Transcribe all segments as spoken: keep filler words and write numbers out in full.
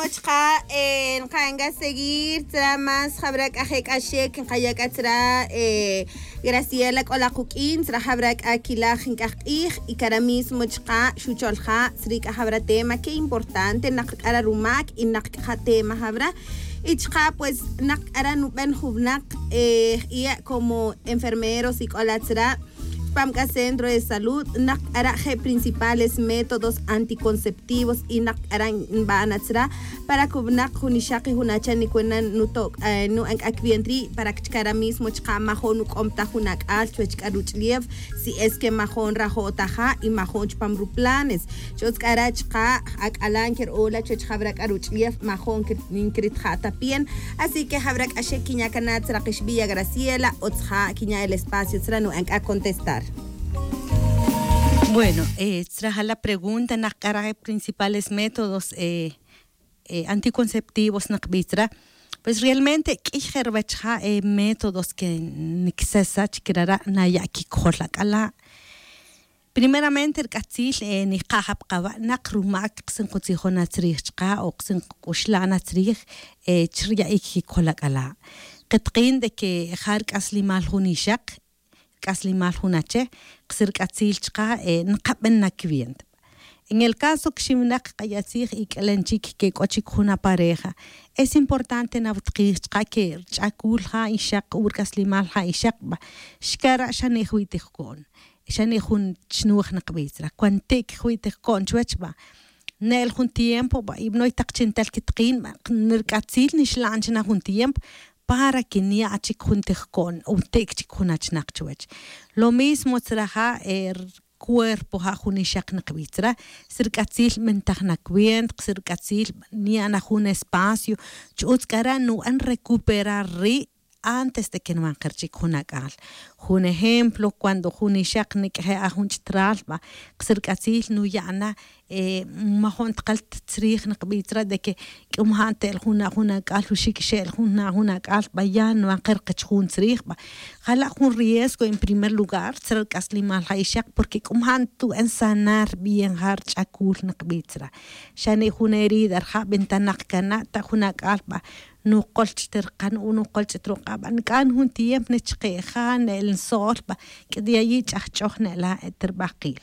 Chka' nqa'n k'a seguir tzra más jab'ra' k'a je' k'a xek nqaya' k'a tzra. Graciela k'ola quq'in tzra jab'ra' k'a kilaj nk'aj q'ij. Y kara' mismo chka' xuchol ja' tzri' k'a jab'ra' tema que importante naq k'ara' rumak y naq k'a ja' tema jab'ra'. Y chka' pues naq k'ara' nub'en jub'naq jya' como enfermeros y k'ola tzra' chpam k'a centro de salud naq k'ara' je' principales métodos anticonceptivos y naq k'ara' nb'ana tzra'. Para que jub'naq jun ixaq y jun acha' nikwena nuto' nu'an k'a kbientri' para que chkara' mismo chka' majo'n nuk'om ta jun ak'al chuwech k'a ruch'lef. Si es que majo'n rajo' ta ja' y majo'n chpam ruplanes. Ch'utz k'ara' chka' ak'alan ker'ola chuwech jab'ra' k'a ruch'lef majo'n nkrit ja' ta pien. Así que jab'ra' k'a xe' kinya' kana' tzra' qixb'iya Graciela o tzja' kinya' el espacio tzra' nu'an k'a contestar. Bueno, tzra' ja' la pregunta naq k'ara' principales métodos anticonceptivos naqb'i tzra'. Pues realmente k'iy je' ruwech ja' métodos que niksesach kirara' naya' kikojol ak'ala'. Primeramente rk'atzil niqa' ja' pqawa' naq rumak qsin qutzijon atzrij chka' o qsin qk'uxlan atzrij chi rya'ik kikojol ak'ala'. Qetqin de que ja' rk'aslimal jun ixaq, rk'aslimal jun ache, qsi rk'atzil chka' nqaben na kbienta. En el caso que xiwinaq qaya' tzij y k'alen chik que k'o chik jun apareja, es importante nawtqij chka' que rch'akul ja' ixaq o rk'aslimal ja' ixaq b'a, xkara' xa ne jwi' tijko'n, xa ne jun chnoj naqb'i tzra'. Cuando ti'k jwi' tijko'n chuwech b'a, ne'el jun tiempo b'a y b'anoy taq chi ntel kitqin b'a, nirk'atzil nixla'n chi na jun tiempo para que nya' chik jun tijko'n o ti'k chik jun achnaq chuwech. Lo mismo tzra' ja' cuerpo ja' jun ixaq naqb'i tzra', si rk'atzil b'intaj na cuenta, si rk'atzil nya' na jun espacio, ch'utz k'ara' nub'an recuperar ri' antes de que nwanqer chik jun ak'al. Jun ejemplo, cuando jun ixaq nik'je' a jun ch'tral b'a, qsi rk'atzil nuya' na majo'n tqal tzrij naqb'i tzra' de que k'o majan te'el jun na jun ak'al, wuxik xe'el jun na jun ak'al b'a, ya nwanqer qach jun tzrij b'a. Ja' la' jun riesgo en primer lugar tzra' rk'aslimal ja' ixaq, porque k'o majan tub'en sanar bien ja' rch'akul naqb'i tzra'. Xa ne jun herida rja' b'intanaq kana' ta jun ak'al b'a, nuqol ch'it rqan o nuqol ch'it ruq'a' b'a, nk'an jun tiempo ne chqe' ja' ne'el nso'l b'a, k'it yayi' ch'ajch'oj ne'la' te rb'aqil.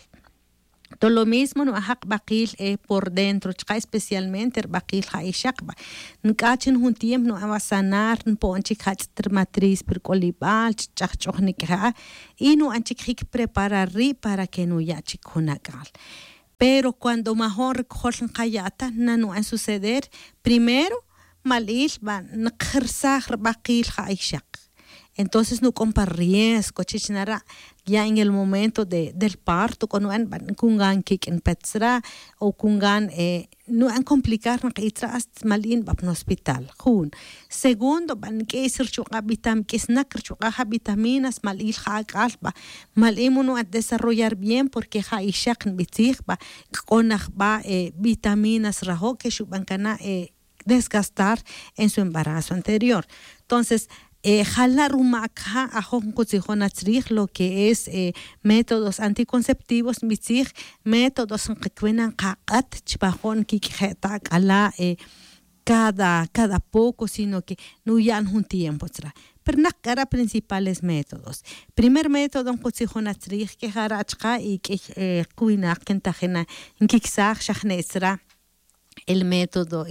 To lo mismo nub'an ja' qb'aqil por dentro chka', especialmente rb'aqil ja' ixaq b'a, nk'at chin jun tiempo nub'an b'a sanar, npo'n chik ja' ch'it rmatriz pi rk'olib'al, ch'ajch'oj nik'je' a, y nub'an chik jik preparar ri' para que nuya' chik jun ak'al. Pero cuando majo'n rkojol nqaya' ta, na nub'an suceder, primero, mal'il b'a nqjirsaj rb'aqil ja' ixaq. Entonces nuk'on pa riesgo chich nara', ya en el momento de del parto k'o nub'an b'a, kungan kik' npet tzra' o kungan nub'an complicar naq'i tzra' hasta mal'in b'a pan hospital. Jun. Segundo b'a, nk'is rchuq'a' vitam, nk'isnak rchuq'a' ja' vitaminas, mal'il ja' ak'al b'a, mal'in mu nub'an desarrollar bien, porque ja' ixaq nb'i tzij b'a, k'o naj b'a vitaminas rajo' que xub'an kana' desgastar en su embarazo anterior. Entonces, ja' la' rumak ja' ajoj nqutzijon atzrij lo que es métodos anticonceptivos, nb'i tzij métodos nqak'win na nqaq'at chpajon kik'je' ta ak'ala' cada cada poco, sino que nuya' na jun tiempo tzra'. Pero naq k'ara' principales métodos. Primer método nqutzijon atzrij que jara' chka' y k'iy qwinaq que ntajin na nkiksaj xa jne' tzra'. El método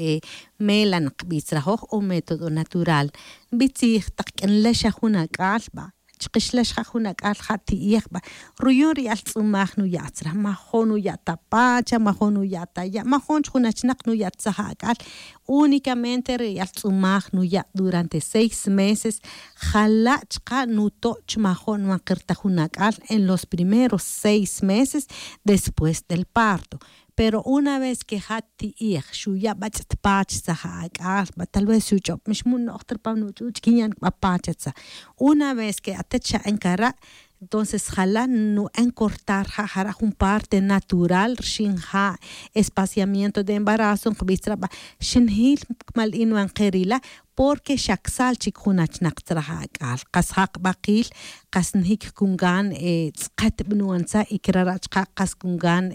mela nqb'i tzra' joj o método natural. Nb'i tzij taq k'inlax xa jun ak'al b'a, chqixlax ja' jun ak'al ja' ti'ej b'a, ruyon riyal tz'umaj nuya' tzra', majo'n nuya' ta pacha, majo'n nuya' ta ya', majo'n chi jun achnaq nuya' ta tzaj ak'al. Únicamente riyal tz'umaj nuya' durante seis meses. Ja' la' chka' nuto' chi majo'n nwanqir ta jun ak'al en los primeros seis meses después del parto. Pero una vez que ja' ti'ej xuya' b'a ch'it pach tzaj ak'al b'a, tal vez xuch'ob' mix mu no'j ta rpam nuch'uch' kin yan b'a pach atza. Una vez que atet xa'en kara', entonces ja' la' nu'en cortar ja' jara' jun parte natural rxin ja' espaciamiento de embarazo nqb'i tzra' b'a, xinjil kmal in wanqer ila', porque xa ksal chik jun achnaq tzra' ja' ak'al. Qas ja' qb'aqil qas njik kungan tz'qet b'nu'an tzaj y krara' chka' qas kungan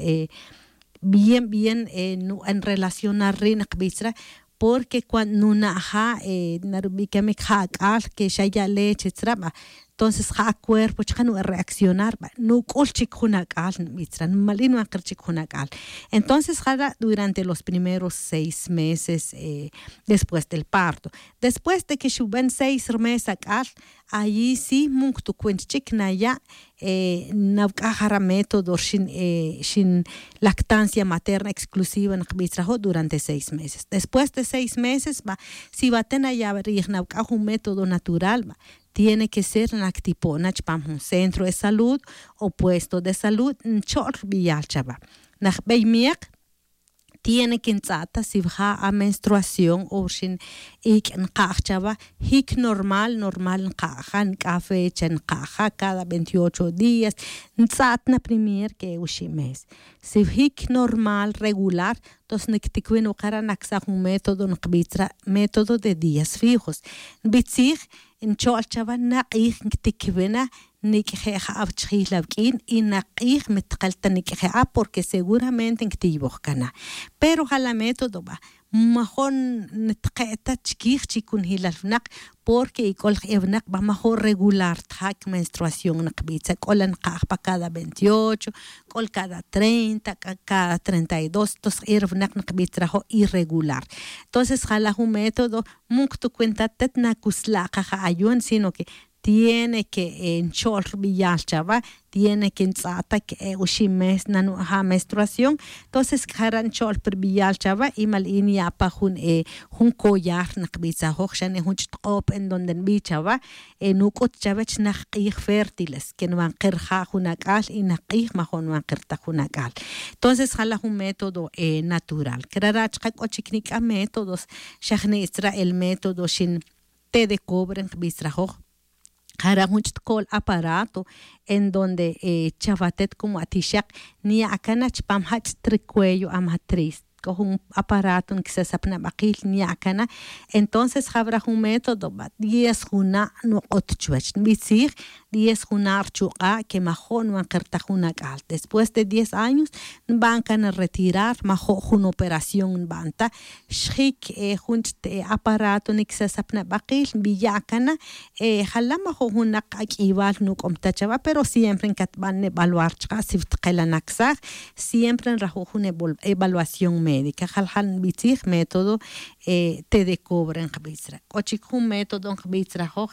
bien bien nu'an relacionar ri' naqb'i tzra'. Porque cuando nuna' ja' narubicamic ja' ac'al que xa ya' leche tzra ba, entonces ja' acuerpo chaka' nu'e reaccionar ba nuc'ul chic jun ac'al nbi tzra nmali'in nuankir chic jun ac'al. Entonces jara' durante los primeros seis meses después del parto, después de que xuben seis mes ac'al, allí sí munc tucuent chic naya' nawc'aj jara' método rxin xin lactancia materna exclusiva nqbi tzra jo' durante seis meses. Después de seis meses ba, si ba te naya' rij nawc'aj jun método natural ba, tiene que ser nactipo'na chupam jun centro de salud o puesto de salud ncho'l rbiyal chaba. Najbey miek tiene que ntz'a'ta si ja' amenstruación o rxin ic' nka'j chaba. Jic normal normal nka'ja nk'aj fecha nka'ja cada veintiocho días. Ntz'a'tna primer que e uxi' mes si jic normal regular. Tos nicticuin wukara' nacsaj jun método nkbi tzra método de días fijos. Nbitzij ncho'l chawa nak'ij nctiquibena nic'je' ja'aw chijil awq'uin y nak'ij mitkel ta nic'je' a porque seguramente nctiywoj cana. Pero ja la método ba majo' nitke' ta chiquij chi cunjilal winak porque ic'ol je' winak ba majo' regular ta ja' cmenstruación nkbitza c'ola nkaj pa cada veintiocho, c'ol cada treinta, cada treinta y dos. Tos je' ri winak nkbitza rajo' irregular. Entonces ja la jun método mun ctucuenta tet nacusla'ka ja ayon sino que tiene que ncho'l rbiyal chawa. Tiene que ntz'a'ta que e oxi' mes nanu'ja' menstruación. Entonces jara' ncho'l pi rbiyal chawa y mali'in ya' pa jun e jun collar nkbitzajoj xa ne jun ch'utk'op en donde nbi chawa nuc'ut chawe chi najk'ij fértiles que nwankir ja' jun ac'al y najk'ij majo' nwankir ta jun ac'al. Entonces ja la jun método natural crara' chaka' c'o chic nic'a métodos. Xa jni' tzra el método xin te de cobre nkbitz rajoj. Jara' jun ch'utkol aparato en donde chawatet como atixak nya'kana chupam ja' ch'ut ricuello amatriz. C'o jun aparato nquisasap nabakil nya'cana. Entonces jawra jun método ba diez juna' nuk'ut chuwech nbitzij diez juna' rchuk'a' que majo' nwankir ta jun ac'al después de diez años nban cana retirar majo' jun operación nban ta. Xjic jun ch'ut aparato niquisasap nabakil nbiya' cana. Ja la majo' jun nak ac'ibal nuc'om ta chawa pero siempre ncatban nebaluar chaka' si wtkel anacsaj. Siempre nrajo' jun evaluación médica jaljal nbitzij método te de cobre nkbitz ra. C'o chic jun método nkbitz rajoj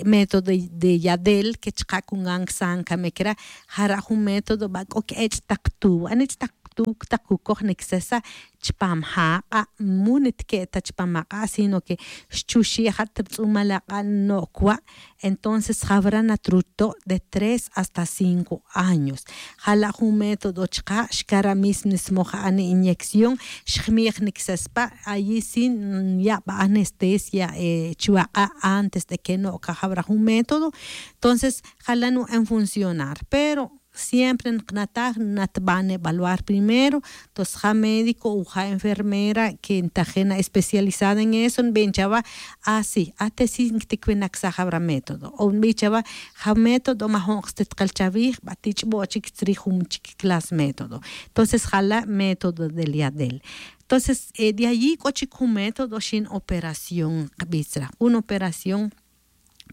método de yadel que chaka' cungan csan camic ra. Jara' jun método ba c'o quech'tak tuw anich'tak tuw tak cucoj nicsesa chupam ja' k'a' mu nitque' ta chupam ak'a' sino que xchuxi' ja' ta rutz'umal ak'a' no'c wa'. Entonces jawra natruto' de tres hasta cinco años. Ja la jun método chaka' xcara' mis nismoj ja' ani inyección xjmij nicsespa' ayi' si nyaba' anestesia chuwak'a' antes de que no'c jawra jun método. Entonces ja la nu'en funcionar pero siempre nknataj natban evaluar primero. Tos ja médico o ja enfermera que ntajena especializada en eso nbin chawa asi ate si ncticuinacsaj jawra método o nbin chawa ja método majo' nkstitkal chawij ba tich'bo' chic tzrij jun chic clas método. Entonces ja la método del yadel. Entonces de ayi' c'o chic jun método xin operación nkbitz ra jun operación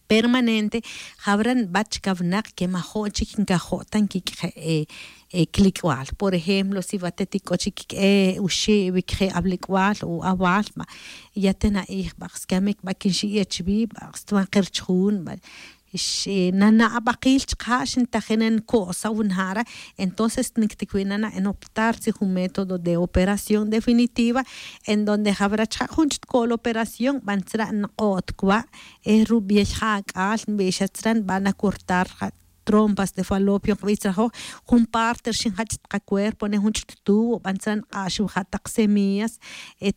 permanente. Jawra nbat chaka winak que majo' chic ncajo' ta nquiq'ueje' clic'bal por ejemplo si watetic c'o chic q'ue uxi' wiq'ueje' awlic'bal o awal ba ya te na'ij ba scamic ba quinxi'e chuwi ba stwankir chujun ba. Nana' abakil chaka' xintajina nco'saw nja' ra. Entonces nicticuina na en optar si jun método de operación definitiva en donde jawra chaka' jun ch'utkol operación ban tzra' nk'o't cwa' e rubiey ja' ac'al nbixa tzra' nban acortar ja trompas de falopio nkbitz rajoj jun parte rxin ja ch'ut kacuerpo ne jun ch'ut tubo ban tzra' nk'axuw ja tak semillas.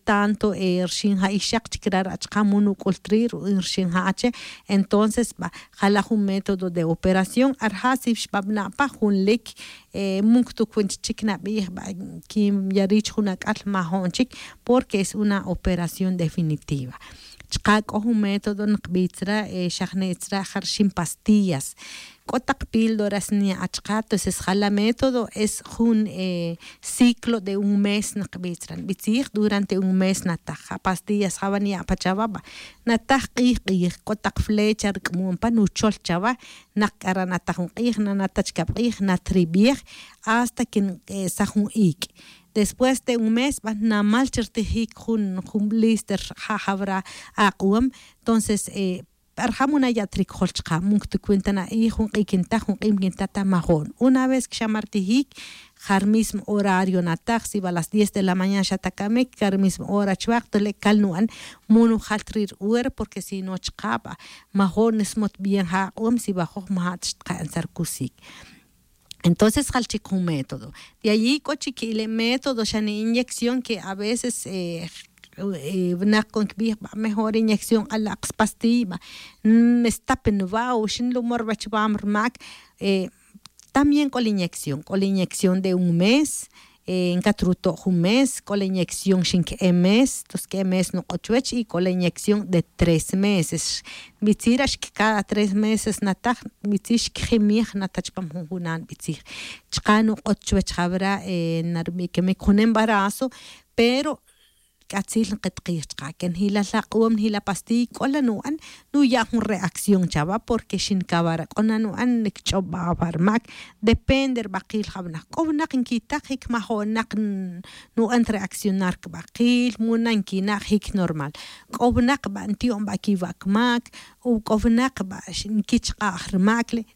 Tanto rxin ja ixak chic rara' chaka' mu nuc'ul tri' ru'in rxin ja ache. Entonces ba ja la jun método de operación arja' si xbabna' pa jun lic munc tucuin chic nabij ba quin ya rich jun ac'al majo'n chic porque es una operación definitiva. Chaka' c'o jun método nkbitz ra xa jni' tzra' ja rxin pastillas. C'o tak píldoras nya' chka'. Entonces ja la método es jun ciclo de un mes nqbij chira' nbij tzij durante un mes nataj ja pastillas ja va nya' pa chawa. Nataj k'ij k'ij c'o tak flecha rc'amon pa nuchol chawa. Nak c'ara' nataj jun k'ij nanata chicab k'ij natribij hasta que nk'esaj jun ic'. Después de un mes ba namal chi rtijic jun jun blister ja jawra ak'uwam. Entonces pa rjam una ya' tricjol chka' muk ta cuenta na'ij jun k'ij quintaj jun k'ij quintaj ta majo'n una vez que xa martijic ja ri mismo horario nataj si va las diez de la mañana xa ta camic ca ri mismo hora chuak tole' cal nu'an. Mu nujal ta ri' ri hora porque si no chka' va majo'n nismot bien ja ak'uwam si va joj maja' ta xtka'n sa ri cusic. Entonces jal chic jun método. De allí c'o chic ile' método xa ni inyección que a veces winak c'o nquibij va mejor inyección k'ala' kspastilla va. Mestap nwa o xin lumor va chwam ri mac. También c'o la inyección c'o la inyección de un mes. Ncat ruto' jun mes c'o la inyección xin que'e mes tos que'e mes nuk'o chuwech y c'o la inyección de tres meses. Nbitzira' cada tres meses nataj nbitzir xquejimij nataj chpam jun junan nbitzij. Chka' nuk'ot chuwech jawra narbiquimic jun embarazo. Pero c'atzil nketkij chka' que njila' ak'uwam njila' pastiy c'o la nu'an nuya' jun reacción chawa porque xin cawara c'o na nu'an nicch'ob va pa ri mac. Depende ri bakil ja winak c'o winak nquitaj jic majo'nak nu'an reaccionar cibakil mu na nquina' jic normal. C'o winak ba nti'on ba quiwa' quimac. C'o winak ba nquichk'aj ri mac le'.